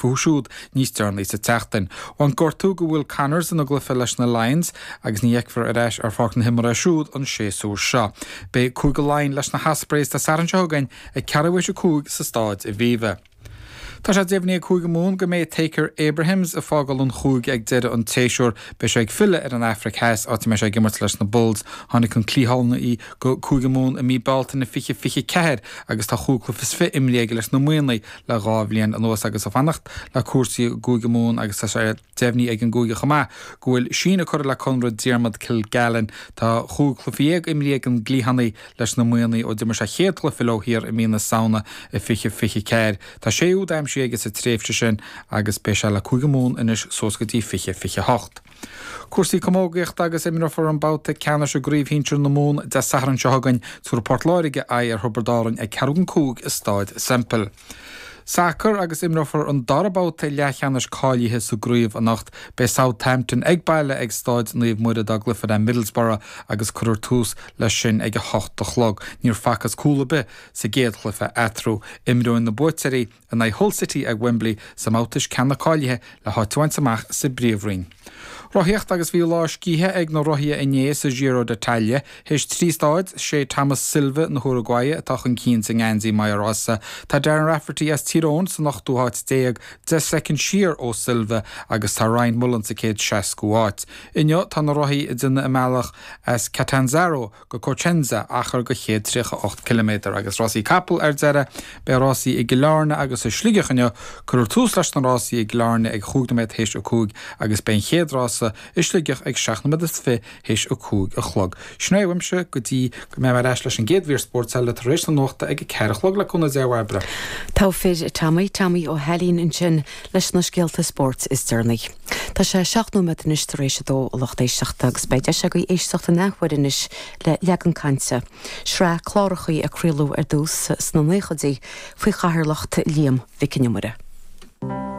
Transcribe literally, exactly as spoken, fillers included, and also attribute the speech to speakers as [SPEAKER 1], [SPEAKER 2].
[SPEAKER 1] fúthu siúd níos deireanaí sa tseachtain. Bhain gortú go Will Connors ina gcluiche leis na Lions agus ní fheicfear ar ais ar pháirc na himeartha siúd an séasúr seo. Beidh Cúige Laighean leis na hOspreys Dé Sathairn seo chugainn ag ceathrú théis a cúig sa Staid Aviva. Tá sé deimhnithe ag Cúige Mumhan go mbeidh Thaakir Abrahams ag fágáil an chúige ag deireadh an tséasúir beidh sé ag filleadh ar an Afraic Theas áit a mbeidh sé ag imirt leis na Bulls tháinig an cliathánaí go Cúige Mumhan i mí Bealtaine fiche fiche ceathair agus tá chúig chluiche is fiche imrithe aige leis na Muimhnigh le dhá bhliain anuas agus ag fanacht le cúrsaí Cúige Mumhan agus tá sé deimhnithe ag an gcúige chomh maith go bhfuil síneadh curtha le conradh Diarmuid Kilgallen Tá chúig chluiche dhéag imrithe ag an gcliathánaí leis na Muimhnigh ó d'imir sé a chéad chluiche leo thiar i mí na Samhna i fiche fiche ceathair. Tá sé úd aimsithe aige sa tréimhse sin agus beidh sé le Cúige Mumhan anois suas go dtí fiche fiche hocht. Cúrsaí camógaíochta agus imreofar an babhta ceannais i gcraobh shinsir na Mumhan Dé Sathairn seo chugainn tabharfaidh Port Láirge aghaidh ar Thiobraid Árann ag ceathrú don cúig i Staid Semple. Sacar agus imreofar an dara babhta leathcheannais cáilithe sa gcraobh anocht beidh Southampton ag baile ag Staid Naomh Muire dá gcluiche le Middlesbrough agus cuirfear tús leis sin ag a hocht a chlog. Níor facthas cúl ar bith sa gcéad chluiche eatarthu imreoidh na buaiteoirí in aghaidh Hull City ag Wembley sa mbabhta ceannais cáilithe le háit a bhaint amach sa bPríomhroinn. Rothaíocht agus bhí lá scíthe ag na rothaithe inné sa Giro d'Italia, théis trí stáid sé Thomas Silva na hUruguaye atá chun cinn sa ngeansaí maglia rosa. Tá Darren Rafferty as Tír Eoghain san ochtú háit déag deich soicind siar ó Silva agus tá Ryan Mullen sa céad seascú áit. Inniu tá na rothaí ag déanamh a mbealach as Catanzaro go Cosenza achar de chéad tríocha ocht ciliméadar agus rásaí capall ar deireadh beidh rásaí i gCill Airne agus i Sligeach inniu cuirfear tús leis na rásaí i gCill Airne ag chúig nóiméad théis a cúig agus beidh an chéad rása i Sligeach ag seacht nóiméad is fiche théis a cúig a chlog. Sin é uaimse go dtí go mbeidh mé ar ais leis an gcéad mhír spóirt eile tar éis na nuachta ag a ceathair a chlog le cúnamh Dé a Bhairbre.
[SPEAKER 2] Tá fir Tommy Tommy Ó hAilín ansin leis na scéalta spóirt is deireanaí. Tá sé seacht nóiméad anois tar éis a dó a lucht éisteachta agus beidh deis agaibh éisteacht an athuair anois le leagan cainte. Sraith cláracha a craoladh ar dtús sna naochaidí faoi chathaoirleacht Liam Mhic Con Iomaire.